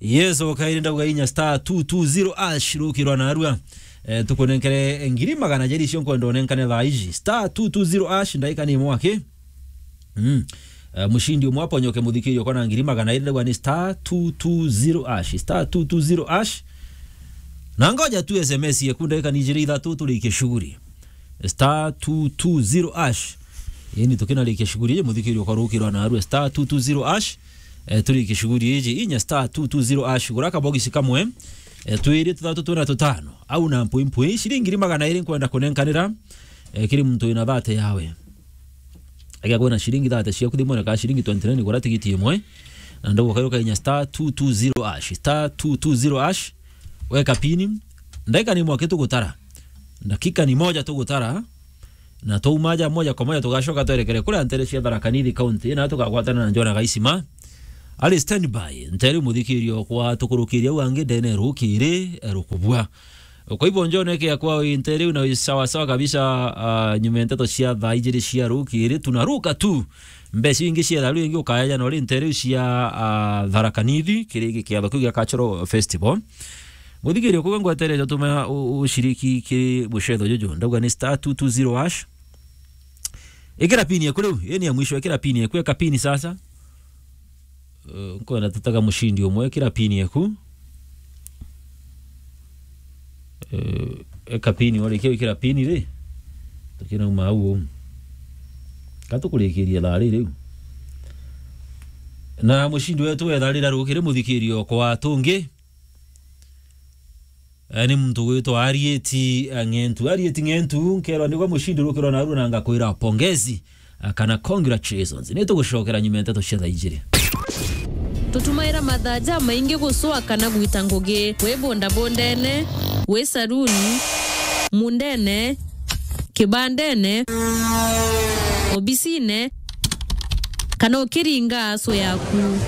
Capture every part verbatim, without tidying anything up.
Yes, okaire ndauga inya star two two zero hash rukirwa narua. Eh, tukunenkere ngiri magana jeri cio nkwenda unenkane thaa iji. Star two two zero hash, ndaika ni mwaki. Mm. Eh, mushindi umwe aponyoke, muthikirio kwa na ngiri magana iri, ndauga ni star two two zero hash, star two two zero hash. Na ngoja tu S M S yeku, ndaika ni jiri ithatu turikie shughuli. Star two two zero hash. Ini tukinarikia shughuli iji, muthikirio kwa rukirwa narua star two two zero hash. Eh, turikie shughuli iji, inya star two two zero hash. Gura kabogisi kamwe. Eh, twiri, tuthatu, tuna, tutano. Au na mpwi mpwi, ciringi ngiri magana iri nkwenda kunenkanira. Eh, kiri muntu wina thate yawe. Ega kwina ciringi thate ciaku thimwene ka ciringi twenty nine, gura tigiti imwe. Na ndauga kairuka inya star two two zero hash, star two two zero hash. Weka pini. Ndaika ni mwaki tugutara. Ndakika ni moja tugutara. Na twauma aja moja kwa moja tugacoka twerekere kuria ntere cia Tharaka Nithi County, na tukagwatana na Njona Gaisima. Ari standby, ntere muthikirio kwa tukurukiria au angi ndene rukiri, eh, rukubua. Kwa hivyo, Njone kia kwa intere na sawa sawa kabisa, ah, nyuma ya nteto cia thaa ijiri cia rukiri, tunaruka tu. Mbeca ingi cia tharu ingi ukaeja na uri ntere cia, ah, Tharaka Nithi, kiri kiatho kiu gia Cultural Festival. Muthikirio, kuga ngwetereja utuma u-, ushiriki kiri mucetho juju. Ndauga ni star two two zero hash. Ikira pini eku riu, ii ni ya mwisho, ikira pini eku, eka pini sasa. Eh, nkwenda tutaga mushindi umwe, ikira pini eku. Eh, eka pini, warikia gwikira pini ri, tukinauma au uu. Ka tukurikiria thaa riri riu. Na mushindi wetu wa thaa riri arukire muthikirio kwa tungi. Eh, ni muntu gwitwa Arieti, eh, Ng'entu. Arieti Ng'entu, nkerwa nigwe mushindi rukirwa narua na ngakwira pongezi, eh, kana congratulations. Ni tugucokera nyuma ya nteto cia thaa ijiri. Tutumaira mathaa jamaingi gucwa kana gwita ngugi. Wi bondabondene, wi saruni, mundene, kibandene, obisine, kana ukiringa aso yaku.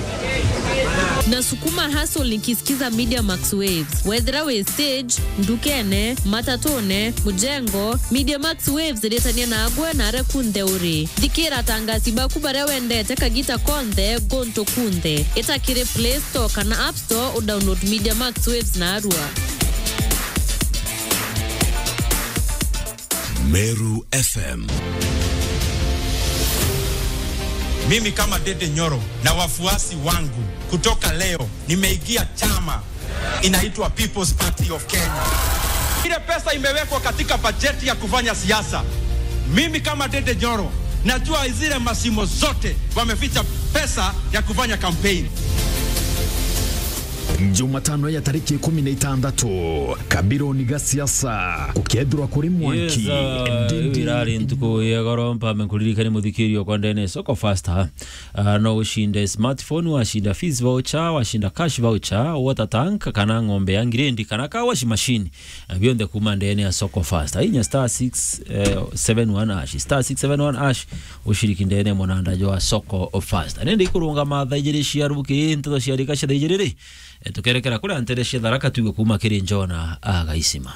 Na sukuma hustle nikisikiza Media Max Waves. Wethira wi stage, ndukene, matatune, mujengo, Media Max Waves iritania nagwe na aria kunthe uri. Thikira atangasi baku baria wendete kagita konthe, guntu kunthe. Ita kiri Play Store kana App Store, udownload Media Max Waves narua. Meru F M. Mimi kama Dede Nyoro na wafuasi wangu, kutoka leo nimeingia chama inaitwa People's Party of Kenya. Ile pesa imewekwa katika bajeti ya kufanya siasa, mimi kama Dede Nyoro najua zile mashimo zote wameficha pesa ya kufanya campaign. Jumatano ya tariki ikumi na itandatu, kabironi ga siasa, gukethirwa kuri mwanki. Yes, uh, ndindi. Irari ntuku ya goro, mpame nkuririkanie muthikirio kwa ndene Soko Fasta. Uh, no ushinde smartphone, washinda fees voucher, washinda cash voucher, water tank, kana ng'ombe ya ngirendi, kana car wash machine. Eh, bionthe kuma ndene ya Soko Fast. Inya star six seven one hash, star six seven one hash, ushiriki ndene munanda jwa Soko Fast. Nende ikurungama thaa ijiri cia ruki, nteto cia rika cia thaa ijiri ri, eh, tukerekera kuria ntere cia Tharaka Tuge kuma kiri Njona Agaisima.